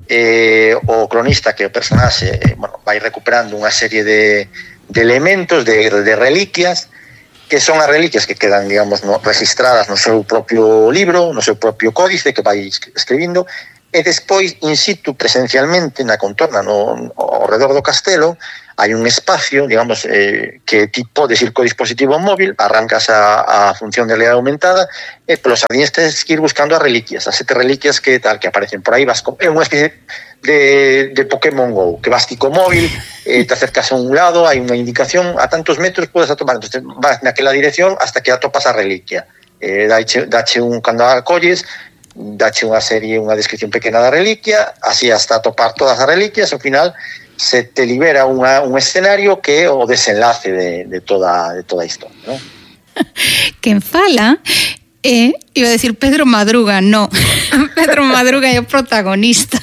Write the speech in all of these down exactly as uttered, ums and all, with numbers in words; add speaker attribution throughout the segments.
Speaker 1: eh, o cronista, que o personaxe eh, bueno, vai recuperando unha serie de, de elementos, de, de reliquias, que son as reliquias que quedan, digamos, no, registradas no seu propio libro, no seu propio códice que vai escribindo, e despois, in situ, presencialmente, na contorna, no, ao redor do castelo, hai un espacio, digamos, eh, que ti podes ir co dispositivo móvil, arrancas a, a función de realidade aumentada e polos jardines tens que ir buscando as reliquias, as sete reliquias que tal que aparecen por aí, vas con, é unha especie de, de Pokémon Go, que vas ti co móvil, eh, te acercas a un lado, hai unha indicación, a tantos metros podes atopar, entonces vas naquela dirección hasta que atopas a reliquia, eh, dache, dache un, cando a colles, dache unha serie, unha descripción pequena da reliquia, así hasta atopar todas as reliquias, ao final se te libera unha, un escenario que é o desenlace de, de, toda, de toda a historia, ¿no?
Speaker 2: Quen fala é, eh, iba a decir Pedro Madruga, no, Pedro Madruga é o protagonista,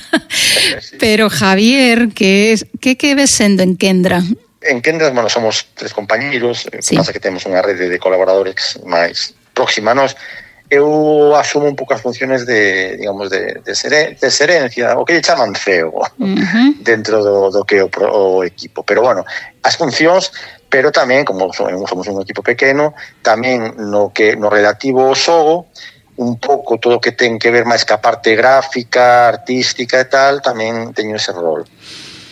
Speaker 2: sí. Pero Javier, que es, que que ves sendo en Kendra?
Speaker 1: En Kendra, bueno, somos tres compañeiros,
Speaker 2: sí.
Speaker 1: Pasa que temos unha rede de colaboradores máis próxima a nós. Eu asumo un pouco as funciones de, digamos, de, de, seren, de serencia, o que lle chaman C E O, uh-huh. Dentro do, do que é o, o equipo. Pero, bueno, as funcións, pero tamén, como somos un equipo pequeno, tamén no que no relativo ao xogo, un pouco todo o que ten que ver máis ca parte gráfica, artística e tal, tamén teño ese rol.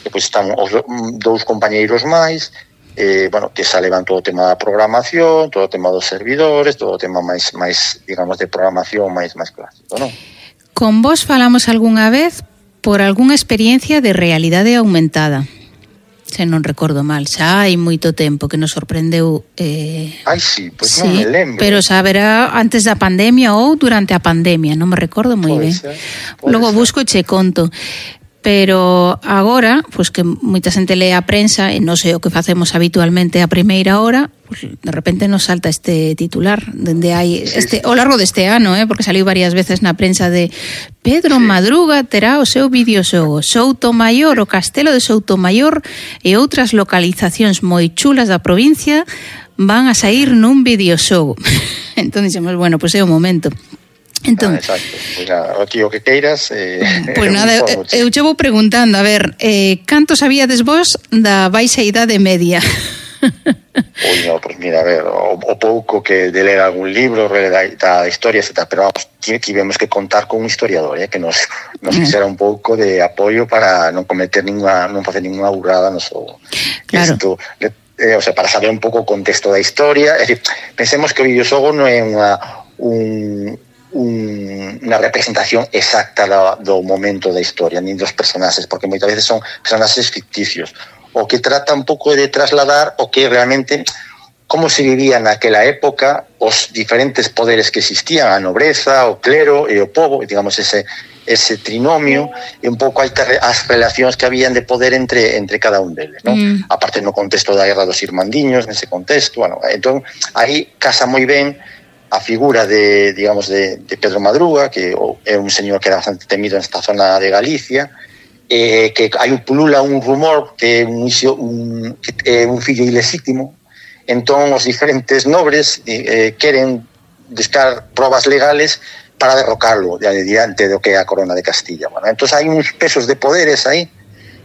Speaker 1: Depois están os dous compañeiros máis, Eh, bueno, que se levan todo o tema da programación, todo o tema dos servidores, todo o tema máis, máis digamos, de programación máis máis clásico, non?
Speaker 2: Con vos falamos algunha vez por algunha experiencia de realidade aumentada. Se non recordo mal, xa hai moito tempo que nos sorprendeu. Eh...
Speaker 1: Ai, sí, pois pues
Speaker 2: sí,
Speaker 1: non me lembro.
Speaker 2: Pero saberá antes da pandemia ou durante a pandemia, non me recordo moi ben.
Speaker 1: Ser,
Speaker 2: Logo
Speaker 1: ser.
Speaker 2: busco e che conto. Pero agora, pois que moita xente lee a prensa e non sei o que facemos habitualmente a primeira hora, pois de repente nos salta este titular dende hai este ao largo deste ano, eh, porque saliu varias veces na prensa de Pedro sí. Madruga terá o seu videoxogo Soutomaior, o castelo de Soutomaior e outras localizacións moi chulas da provincia van a sair nun videoxogo. Entón dixemos, bueno, pois é o momento. Entón,
Speaker 1: ah, exacto, pues nada, o tío que queiras eh,
Speaker 2: pois pues nada, eu, eu che vou preguntando a ver, eh, canto sabíades vos da baixa idade media?
Speaker 1: Ui, no, pues mira, a ver, o, o pouco que de ler algún libro da, da historia, etcétera, pero vamos, tivemos que contar con un historiador, eh, que nos, nos fixera un pouco de apoio para non cometer ninguna, non facer ninguna burrada no xogo.
Speaker 2: Claro.
Speaker 1: Esto, eh, o sea, para saber un pouco o contexto da historia, é dicir, pensemos que o videoxogo non é unha un Un, unha representación exacta do, do momento da historia, nin dos personaxes, porque moitas veces son personaxes ficticios, o que trata un pouco de trasladar o que realmente como se vivía naquela época, os diferentes poderes que existían, a nobreza, o clero e o pobo, digamos ese, ese trinomio, e un pouco as relacións que habían de poder entre, entre cada un deles, ¿no? Mm. Aparte no contexto da guerra dos irmandiños, nese contexto, bueno, entón aí casa moi ben a figura de, digamos, de, de Pedro Madruga, que é un señor que era bastante temido nesta zona de Galicia, eh, que hai un pulula un rumor que é un, un, que é un fillo ilegítimo, entón os diferentes nobres eh, queren buscar probas legales para derrocarlo diante do que é a corona de Castilla. Bueno, entón hai uns pesos de poderes aí,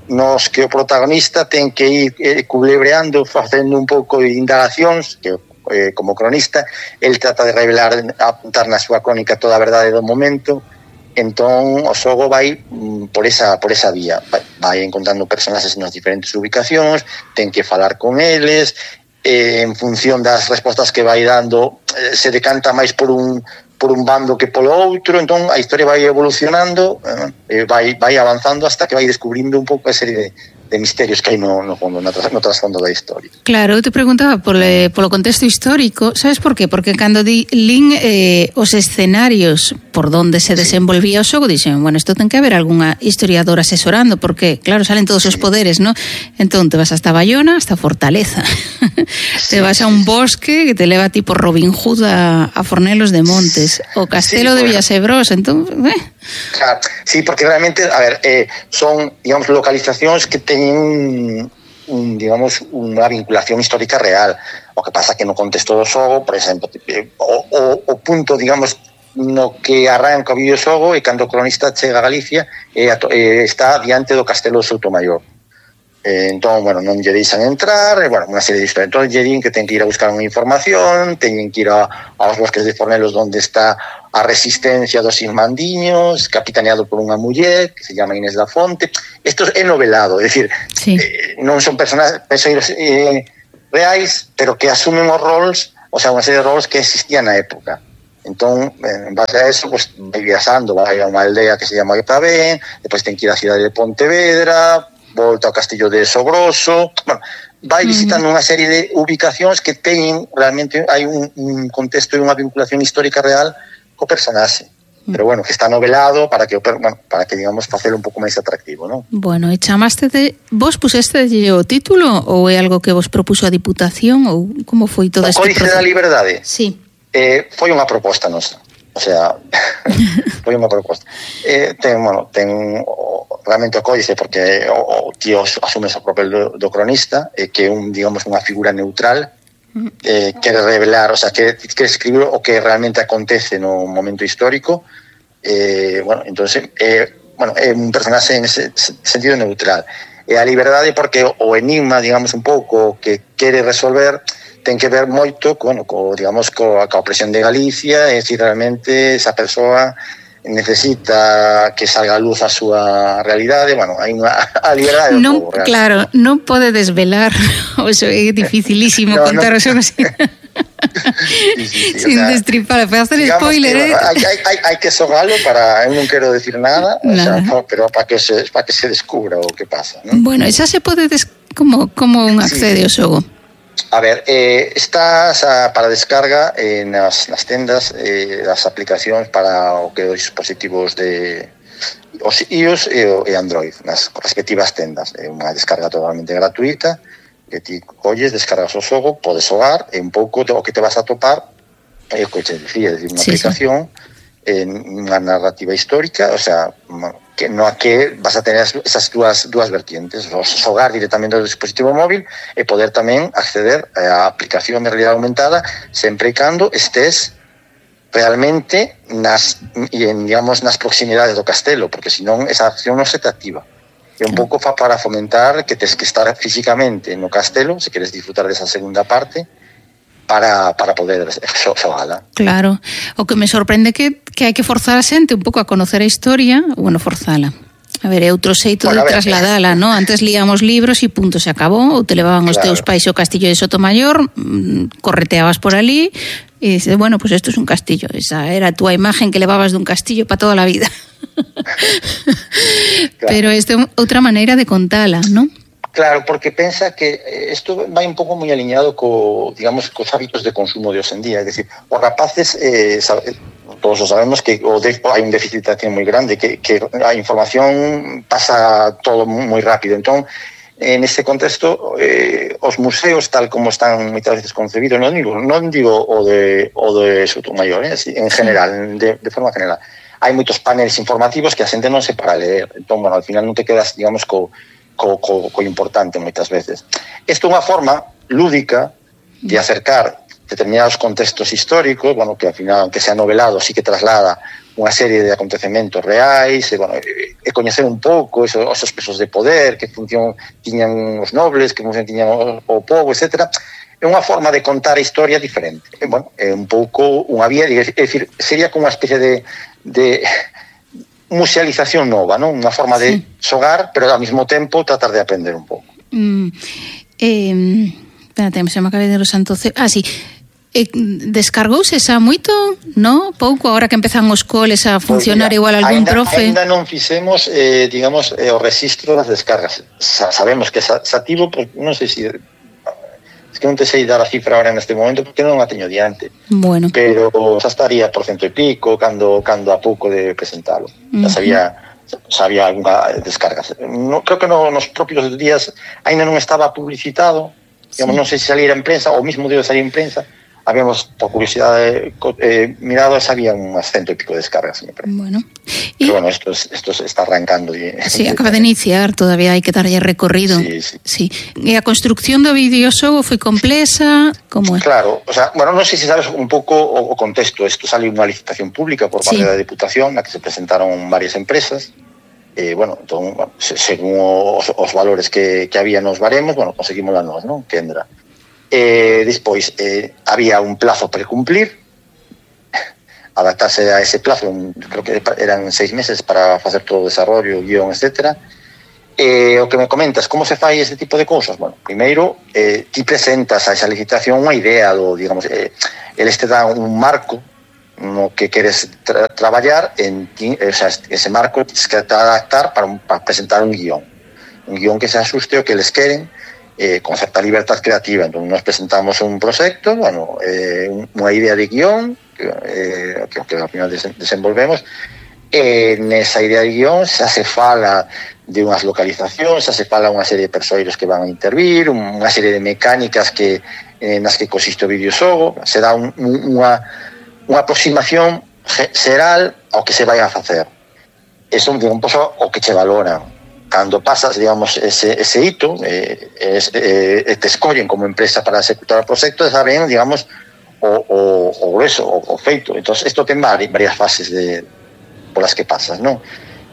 Speaker 1: nos que o protagonista ten que ir eh, culebreando, facendo un pouco de indagacións, que Eh, como cronista, el trata de revelar, apuntar na súa crónica toda a verdade do momento, entón o xogo vai mm, por esa por esa vía, vai, vai encontrando personaxes nas diferentes ubicacións, ten que falar con eles, eh, en función das respostas que vai dando, eh, se decanta máis por un por un bando que polo outro, entón a historia vai evolucionando, eh, vai vai avanzando hasta que vai descubrindo un pouco a serie de de misterios que hai no, no fondo, no, no trasfondo da historia.
Speaker 2: Claro, eu te preguntaba por, eh, polo contexto histórico, sabes por qué? Porque cando di, lin eh, os escenarios por donde se desenvolvía o xogo, dixen, bueno, isto ten que haber algunha historiadora asesorando, porque, claro, salen todos os poderes, ¿no? Entón, te vas hasta Bayona, hasta Fortaleza. Sí, te vas a un bosque que te leva tipo Robin Hood a, a Fornelos de Montes, o Castelo sí, de Villasebrós, entón, eh.
Speaker 1: Claro, sí, porque realmente, a ver, eh, son, digamos, localizacións que teñen un, un, digamos, unha vinculación histórica real. O que pasa que no contexto do xogo, por exemplo, o, o, o punto, digamos, no que arranca o videoxogo e cando o cronista chega a Galicia e, e está diante do Castelo de Soutomaior. Eh, entón, bueno, non lle deixan entrar, e, bueno, unha serie de historias. Entón, lle din que ten que ir a buscar unha información, teñen que ir a, aos bosques de Fornelos onde está a resistencia dos irmandiños, capitaneado por unha muller que se llama Inés da Fonte. Isto é novelado, é dicir,
Speaker 2: sí.
Speaker 1: eh, non son personajes eh, reais, pero que asumen os roles, o sea, unha serie de roles que existían na época. Entón, en base a eso, pues, vai viaxando, vai a unha aldea que se llama Ipavén, depois ten que ir á cidade de Pontevedra, volta ao castillo de Sogroso, bueno, vai visitando unha serie de ubicacións que teñen, realmente, hai un, un contexto e unha vinculación histórica real co personaxe. Pero bueno, que está novelado para que, bueno, para que digamos, facelo un pouco máis atractivo, non?
Speaker 2: Bueno, e chamaste de... Vos puseste o título ou é algo que vos propuso a Diputación ou como foi todo este proceso?
Speaker 1: O Códice da Liberdade?
Speaker 2: Sí.
Speaker 1: Eh, foi unha proposta nosa, o sea, foi unha proposta. Eh, ten, bueno, ten o, realmente o códice porque o, o tío asume o papel do, do cronista, eh, que é un, digamos, unha figura neutral, eh, quere revelar, o sea, que quere escribir o que realmente acontece no momento histórico, eh, bueno, entonces, eh, bueno, é un personaxe en ese sentido neutral. E a liberdade porque o enigma, digamos, un pouco que quere resolver ten que ver moito bueno, co, digamos, coa, coa opresión de Galicia, e se realmente esa persoa necesita que salga a luz a súa realidade, bueno, hai unha a liberdade do
Speaker 2: non,
Speaker 1: povo,
Speaker 2: claro, non pode desvelar, o eso é dificilísimo no, contar no. Eso así. Sí, sí, sí, sin o sea, destripar, para hacer spoiler, que,
Speaker 1: eh? Hai, hai, hai que xogalo para, eu non quero decir nada, nada. O sea, pero para que se para que se descubra o que pasa, ¿no?
Speaker 2: Bueno, esa se pode des, como como un accede ao xogo.
Speaker 1: A ver, eh, estás a, para descarga eh, nas, nas tendas eh, das aplicacións para o que os dispositivos de os iOS e, e Android, nas respectivas tendas. É unha descarga totalmente gratuita, que ti colles, descargas o xogo, podes xogar, e un pouco o que te vas a topar é o que te decía, é dicir, unha sí, aplicación sí. En unha narrativa histórica, o sea, que no a que vas a tener esas dúas, dúas vertientes, xogar directamente do dispositivo móvil e poder tamén acceder á aplicación de realidade aumentada sempre e cando estés realmente nas, en, digamos, nas proximidades do castelo, porque senón esa acción non se te activa. É un pouco fa para fomentar que tes que estar físicamente no castelo, se queres disfrutar desa segunda parte, para, para poder xogala.
Speaker 2: Claro, o que me sorprende que, que hai que forzar a xente un pouco a conocer a historia, bueno, forzala. A ver, é outro xeito bueno, de trasladala, ¿no? Antes líamos libros e punto, se acabou, ou te levaban os claro. Teus pais ao castillo de Sotomayor, correteabas por ali, e dices, bueno, pues esto es un castillo. Esa era a túa imagen que levabas dun castillo para toda a vida. Claro. Pero esta é outra maneira de contala, ¿no?
Speaker 1: Claro, porque pensa que isto vai un pouco moi alineado co, digamos, cos hábitos de consumo de hoxe en día, é dicir, os rapaces eh, sabe, todos sabemos que o de, hai un déficit moi grande, que, que a información pasa todo moi rápido, entón en este contexto eh, os museos tal como están moitas veces concebidos, non digo, non digo o de o de Sotomayor, eh, en general, de, de forma general. Hai moitos paneles informativos que a xente non se para ler, entón, bueno, al final non te quedas, digamos, co Co, co, co importante moitas veces. Isto é unha forma lúdica de acercar determinados contextos históricos, bueno, que ao final, aunque sea novelado, sí que traslada unha serie de acontecementos reais, e, bueno, e coñecer un pouco esos, esos pesos de poder, que función tiñan os nobles, que función tiñan o, o povo, etcétera. É unha forma de contar a historia diferente. E, bueno, é un pouco unha vía, é dicir, sería como unha especie de... de musealización nova, non? Unha forma de sí. xogar, pero ao mesmo tempo tratar de aprender un pouco.
Speaker 2: Mm, eh, espérate, se me acabei de los santos... Ah, sí. Eh, descargouse xa moito, no? Pouco, agora que empezan os coles a funcionar pues, mira, igual algún
Speaker 1: ainda,
Speaker 2: profe.
Speaker 1: Ainda non fixemos, eh, digamos, eh, o registro das descargas. Sa, sabemos que xa activo, pues, non sei se... Es que non te sei dar a cifra ahora neste momento porque non a teño diante.
Speaker 2: Bueno.
Speaker 1: Pero xa estaría por cento e pico cando cando a pouco de presentalo. Uh-huh. Xa sabía xa había algunha descarga. No, creo que no, nos propios días aínda non estaba publicitado. Digamos, sí. Non sei se salira en prensa ou mismo debe salir en prensa habíamos, por curiosidade, eh, mirado, había unhas cento e pico de descargas.
Speaker 2: Bueno.
Speaker 1: Y, pero bueno, esto, esto se está arrancando. Y,
Speaker 2: sí, acaba de iniciar, todavía hai que darlle recorrido.
Speaker 1: Sí, sí.
Speaker 2: Sí. E a construcción do videoxogo foi complexa, como é?
Speaker 1: Claro, o sea, bueno, non sei se sabes un pouco o, o contexto. Isto salió unha licitación pública por parte sí. da Deputación, na que se presentaron varias empresas. Eh, bueno, entón, bueno, según os, os valores que, que había nos baremos, bueno, conseguimos a nós, non? Kendra. Eh, despois, eh, había un plazo para cumplir, adaptarse a ese plazo, un, creo que eran seis meses para facer todo o desarrollo, guión, etcétera. Eh, o que me comentas, como se fai este tipo de cousas? Bueno, primeiro, eh, ti presentas a esa licitación unha idea do, digamos, eh, eles te dan un marco no que queres tra traballar, en ti, o sea, ese marco tienes que adaptar para, un, para presentar un guión, un guión que se asuste o que les queren, Eh, con certa libertad creativa. Entón, nos presentamos un proxecto, bueno, eh, unha idea de guión que, eh, que, que ao final des desenvolvemos. E nesa idea de guión xa se fala de unhas localizacións, xa se fala unha serie de persoeiros que van a intervir, unha serie de mecánicas que eh, nas que consiste o videoxogo, se dá un, un, unha, unha aproximación xeral ao que se vai a facer. Eso é un pouco o que che valoran. Cando pasas, digamos, ese, ese hito, eh, es, eh, te escollen como empresa para executar o proxecto, saben, digamos, o, o, o grueso, o, o feito. Entón, isto ten varias fases de, polas que pasas, non?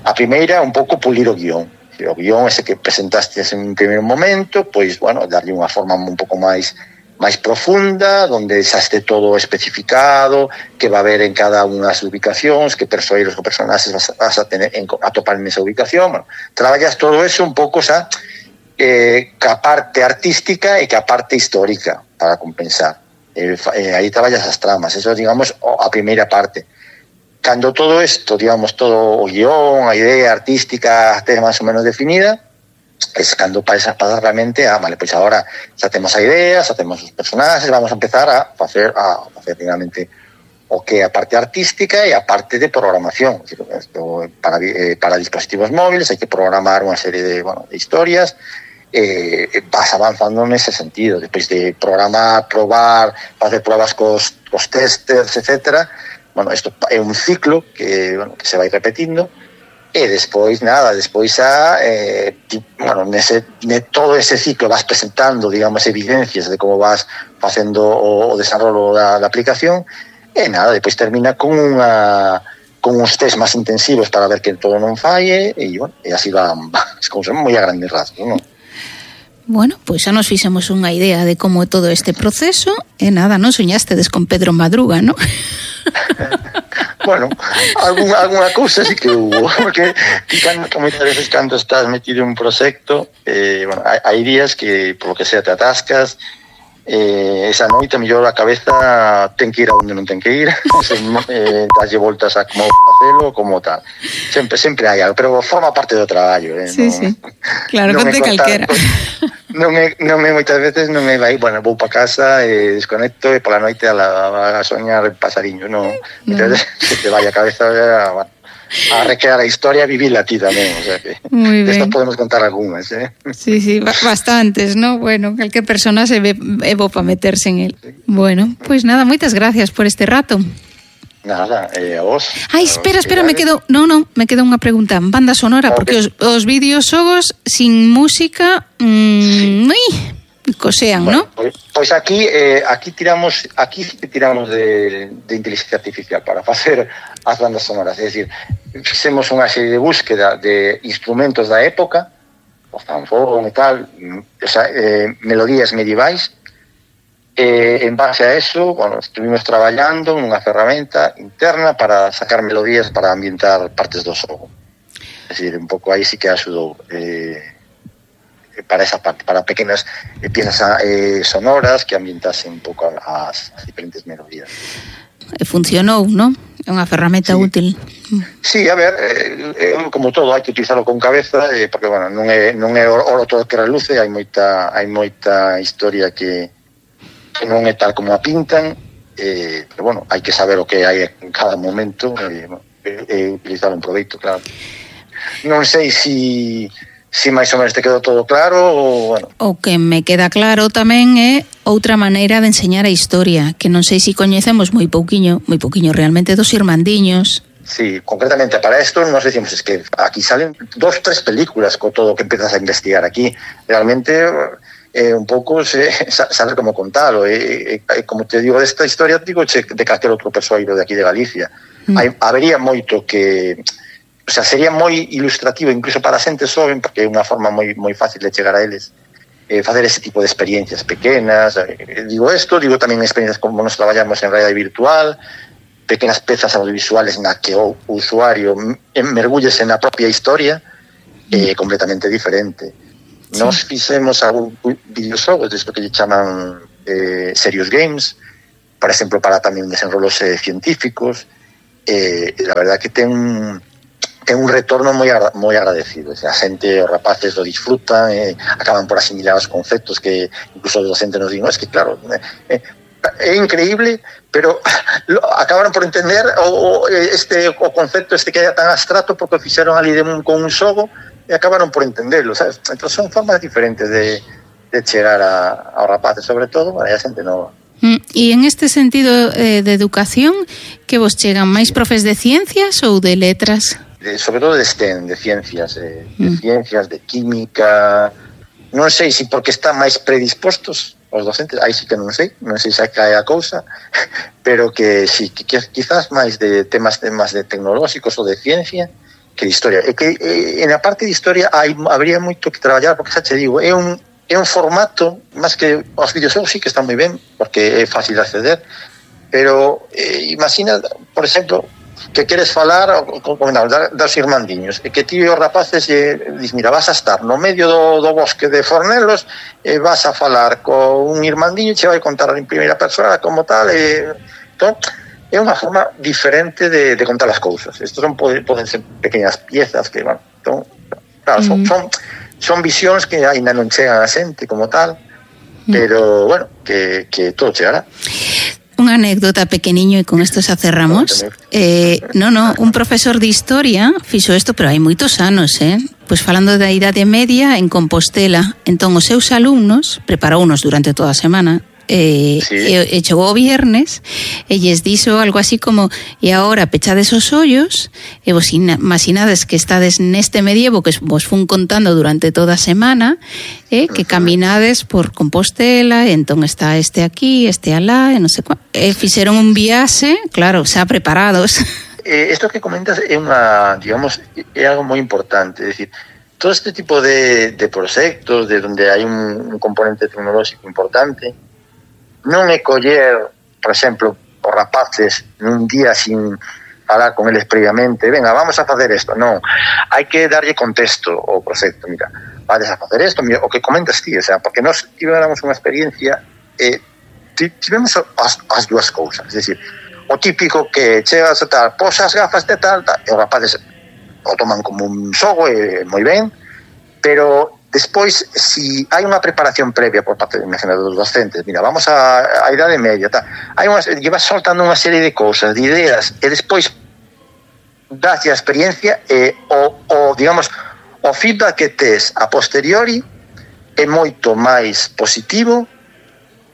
Speaker 1: A primeira, un pouco pulir o guión. O guión ese que presentaste en un primeiro momento, pois, bueno, darlle unha forma un pouco máis máis profunda, onde xa este todo especificado, que va a haber en cada unha das ubicacións, que persoeiros ou personaxes vas, vas a, tener, en, a topar nesa ubicación. Bueno, traballas todo eso un pouco xa eh, ca parte artística e ca parte histórica para compensar. Eh, eh, aí traballas as tramas, eso, digamos, a primeira parte. Cando todo isto, digamos, todo o guión, a idea artística ten máis ou menos definida, es cando pasa realmente a, vale, pois agora xa temos a idea, xa temos os personaxes, vamos a empezar a facer a facer realmente o que é a parte artística e a parte de programación. Para, eh, para dispositivos móviles hai que programar unha serie de, bueno, de historias, eh, vas avanzando nese sentido, despois de programar, probar, facer pruebas cos, cos testers, etcétera. Bueno, isto é un ciclo que, bueno, que se vai repetindo. E despois, nada, despois xa, eh, ti, bueno, nese, ne todo ese ciclo vas presentando, digamos, evidencias de como vas facendo o, o desarrollo da, da aplicación, e nada, despois termina con unha con uns test máis intensivos para ver que todo non falle, e, bueno, e así van, es como son moi a grandes rasgos, non?
Speaker 2: Bueno, pois xa nos fixemos unha idea de como é todo este proceso, e nada, non soñastedes con Pedro Madruga, non?
Speaker 1: Bueno, alguna, alguna cousa sí que hubo, porque cando, moitas veces cando estás metido en un proxecto, eh, bueno, hai, hai días que, por lo que sea, te atascas, eh, esa noite, mellor a cabeza ten que ir a onde non ten que ir, eh, daslle voltas a como facelo, como tal. Sempre, sempre hai algo, pero forma parte do traballo. Eh,
Speaker 2: sí,
Speaker 1: non,
Speaker 2: sí, claro, non conte calquera.
Speaker 1: Non me, non me moitas veces non me vai, bueno, vou para casa e desconecto e pola noite a, la, a soñar pasariño, non. Entonces, no. Se te vai a cabeza a, a recrear a historia, vivila ti tamén, o sea que esto podemos contar algunhas, eh.
Speaker 2: Sí, sí, bastantes, ¿no? Bueno, calquer persona se ve é bo para meterse en el. Sí. Bueno, pois pues nada, moitas gracias por este rato.
Speaker 1: Nada, eh, a vos.
Speaker 2: Ai, espera, espera, me quedo, no, no, me queda unha pregunta, banda sonora, okay. Porque os, os videoxogos sin música, mmm, ui, cosean, bueno, ¿no?
Speaker 1: Pois, pois aquí, eh, aquí tiramos, aquí tiramos de, de inteligencia artificial para facer as bandas sonoras, é dicir, fixemos unha serie de búsqueda de instrumentos da época, o fanfón e tal, o sea, eh, melodías medievais. Eh, en base a eso, bueno, estuvimos traballando nunha ferramenta interna para sacar melodías para ambientar partes do xogo. É dicir, un pouco aí sí que axudou eh, para esa parte, para pequenas eh, piezas eh, sonoras que ambientasen un pouco as, as diferentes melodías.
Speaker 2: Funcionou, non? É unha ferramenta
Speaker 1: sí.
Speaker 2: útil.
Speaker 1: Sí, a ver, eh, como todo, hai que utilizarlo con cabeza, eh, porque, bueno, non é, non é oro todo que reluce, hai moita, hai moita historia que que non é tal como a pintan, eh, pero bueno, hai que saber o que hai en cada momento e eh, eh, utilizar un proveito, claro. Non sei si si máis ou menos te quedou todo claro ou, bueno.
Speaker 2: O que me queda claro tamén é outra maneira de enseñar a historia, que non sei se coñecemos moi pouquiño, moi pouquiño realmente dos irmandiños.
Speaker 1: Sí, concretamente para esto nos decimos es que aquí salen dos, tres películas con todo lo que empiezas a investigar aquí. Realmente eh, un pouco se, saber como contarlo. Eh, eh, como te digo, esta historia digo che, de calquer outro persoeiro de aquí de Galicia. Mm. Hai, habería moito que... O sea, sería moi ilustrativo incluso para a xente xoven, porque é unha forma moi moi fácil de chegar a eles, eh, facer ese tipo de experiencias pequenas. Eh, digo esto, digo tamén experiencias como nos traballamos en realidade virtual, pequenas pezas audiovisuales na que o usuario mergullese na propia historia, eh, completamente diferente. Sí. Nos fixemos algún videoxogos, desto que lle chaman eh, serious games, por exemplo, para tamén desenrolos eh, científicos, eh, la verdad que ten un ten un retorno moi moi agradecido. O sea, a xente, os rapaces lo disfrutan, eh, acaban por asimilar os conceptos que incluso os docentes nos din, no, es que claro, eh, é increíble, pero lo, acabaron por entender o, o este o concepto este que é tan abstracto porque o fixeron ali de un, con un xogo e acabaron por entenderlo, sabes? Entón son formas diferentes de, de chegar a, aos rapaces, sobre todo para a xente nova.
Speaker 2: E en este sentido eh, de educación, que vos chegan máis profes de ciencias ou de letras?
Speaker 1: De, sobre todo de STEM, de ciencias, eh, de mm. ciencias, de química. Non sei se porque están máis predispostos os docentes, aí sí que non sei, non sei se cae a cousa, pero que sí, que quizás máis de temas temas de tecnolóxicos ou de ciencia que de historia. E que eh, en a parte de historia hai, habría moito que traballar, porque xa te digo, é un, é un formato, máis que os videoxogos sí que están moi ben, porque é fácil de acceder, pero eh, imagina, por exemplo, que queres falar con, con, con, dos irmandiños e que ti e os rapaces eh, dis, mira, vas a estar no medio do, do bosque de Fornelos e vas a falar con un irmandiño e che vai contar en primeira persona como tal e, entón, é unha forma diferente de, de contar as cousas. Estos son, poden ser pequeñas piezas que, bueno, entón, claro, son, mm. son, son visións que ainda non chegan a xente como tal, mm. pero, bueno, que, que todo chegará.
Speaker 2: Unha anécdota pequeniño e con esto xa cerramos. Eh, no, no, un profesor de historia fixo isto, pero hai moitos anos, eh? Pois falando da Idade Media en Compostela. Entón, os seus alumnos preparounos durante toda a semana, eh, sí. e, e chegou o viernes e lles dixo algo así como e agora pechades os ollos e vos imaginades que estades neste medievo que vos fun contando durante toda a semana, eh, que caminades por Compostela e entón está este aquí, este alá e non sei cuá, e fixeron un viaxe, claro, xa preparados.
Speaker 1: Eh, esto que comentas é unha, digamos, é algo moi importante, é dicir, todo este tipo de, de proxectos de donde hai un, un componente tecnolóxico importante non é coller, por exemplo, os rapaces nun día sin falar con eles previamente, venga, vamos a facer isto, non, hai que darlle contexto ao proxecto, mira, vades a facer isto, mira, o que comentas ti, o sea, porque nós tivemos unha experiencia e eh, tivemos as, as dúas cousas, é dicir, o típico que chegas a tal, posas gafas de tal, tal, e os rapaces o toman como un xogo e moi ben, pero despois, si hai unha preparación previa por parte dos docentes, mira, vamos a, a Idade Media, tal, hai unhas, llevas soltando unha serie de cousas, de ideas, e despois das a experiencia e o, o, digamos, o feedback que tes a posteriori é moito máis positivo.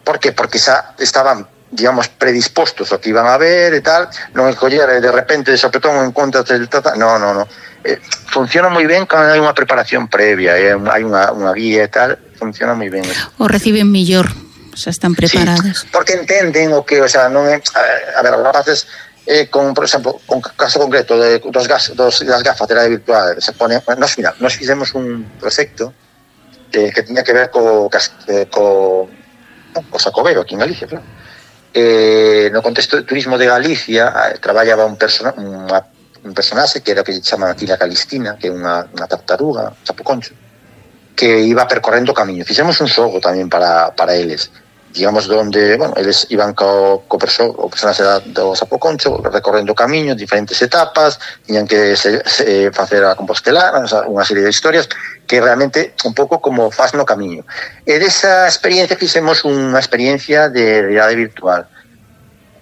Speaker 1: Por que? Porque xa estaban, digamos, predispostos ao que iban a ver e tal, non é coller de repente de sopetón en contra del tata, no, no, no. Eh, funciona moi ben cando hai unha preparación previa, eh, hai unha, unha guía e tal, funciona moi ben.
Speaker 2: O reciben millor, xa están preparados.
Speaker 1: Sí, porque entenden o que, o sea, non é, a, a ver, os rapaces eh, con, por exemplo, con caso concreto de, dos, gas, dos das gafas de realidade virtual, se pone, nos, mira, nos fixemos un proxecto eh, que tiña que ver co, eh, co, co Sacobero aquí en Galicia, claro. Eh, no contexto de turismo de Galicia eh, traballaba un persona, unha un personaxe que era o que chaman aquí la Calistina, que é unha, unha tartaruga, chapoconcho, que iba percorrendo o camiño. Fixemos un xogo tamén para, para eles, digamos, donde, bueno, eles iban co, co perso, o personaxe do chapoconcho recorrendo o camiño, diferentes etapas, tiñan que se, se, facer a Compostela, unha serie de historias que realmente un pouco como faz no camiño. E desa experiencia fixemos unha experiencia de realidade virtual,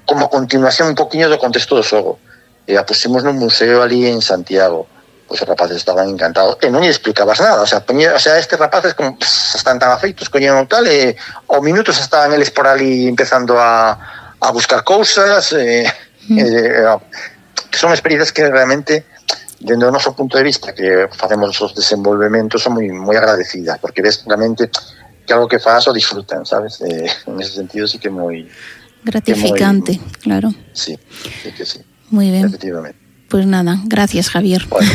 Speaker 1: como continuación un poquinho do contexto do xogo. E a pusimos nun museo ali en Santiago. pois os rapaces estaban encantados e non lle explicabas nada, o sea, poñía, o sea, estes rapaces como pss, están tan afeitos, coñeron tal e ao minuto se estaban eles por ali empezando a, a buscar cousas e, mm. e, e son experiencias que realmente dende o noso punto de vista que facemos os desenvolvementos son moi, moi agradecidas, porque ves realmente que algo que faz o disfrutan, sabes? Eh, en ese sentido sí que moi
Speaker 2: gratificante,
Speaker 1: muy,
Speaker 2: claro.
Speaker 1: Sí, sí que sí.
Speaker 2: Muy bien.
Speaker 1: Efectivamente.
Speaker 2: Pues nada, gracias, Javier.
Speaker 1: Bueno.